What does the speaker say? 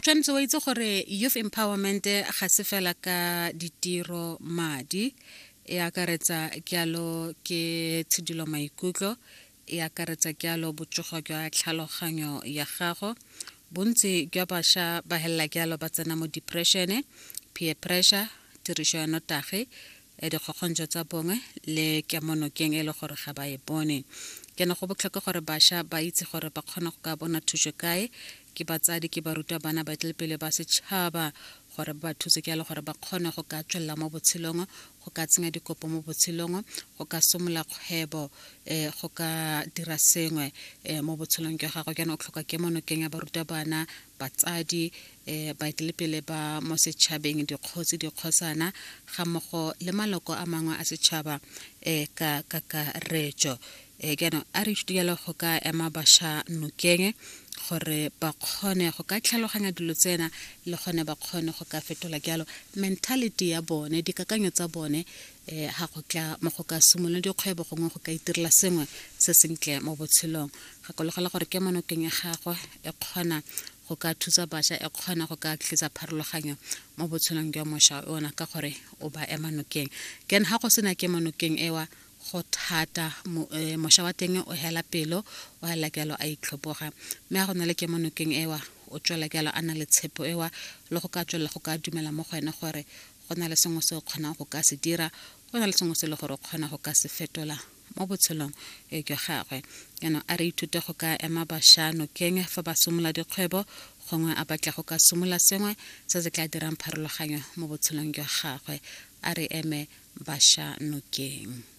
tshwanetse wa itse gore youth empowerment ga se fela ka ditiro madi e akaretsa jalo ke tshidilo maikutlo e akaretsa jalo botsogo jwa tlhaloganyo ya gago bontsi jwa bašwa ba helela jalo ba tsena mo depression peer pressure tiriso ya notagi eh, dikgokgontšho tsa bongwe le kemonokeng e le gore ga ba e bone ke ne go botlhokwa gore bašwa ba itse gore ba kgona go ka bona thuso kae ke batsadi ke barutabana baeteledipele ba setšhaba gore ba thuse ke le gore ba kgone go ka tswelela mo botshelong go ka tsenya dikopo mo botshelong go ka somola kgwebo um go ka dira sengwe um mo botshelong jwa gago jaanong o tlhoka kemonokeng ya barutabana batsadi um baeteledipele ba mo setšhabeng dikgosi dikgosana ga mmogo le maloko a mangwe a setšhaba um ka kakaretso um jaanong a re ithute jalo go ka ema bašwa nokeng gore ba kgone go ka tlhaloganya dilo tsena le gone ba kgone go ka fetola jalo mentality ya bone dikakanyo tsa bone um ga go tla mo go ka simolola dikgwebo gongwe go ka itirela sengwe se sentle mo botshelong gakologela gore ke monokeng ya gagwe e kgona go ka thusa bašwa e kgona go ka tlisa pharologanyo mo botshelong jwa mošwa ona ka gore o ba ema nokeng ken ga go sena ke monokeng ewa go thata eh, mošwa wa teng o hela pelo o hela jalo a itlhoboga mme ga go na le kemonokeng ewa o tswela jalo a na le tshepo ewa le go ka tswelela go ka dumela mo go ene gore go na le sengwe se o kgonang go ka se dira go na le sengwe se e le gore o kgona go ka se fetola mo botshelong eh, jwa gagwe jaanong a re ithute go ka ema bašwa nokeng fa ba simolola dikgwebo gongwe a batla go ka simolola sengwe se se tla dirang pharologanyo mo botshelong jwa gagwe a re eme bašwa nokeng.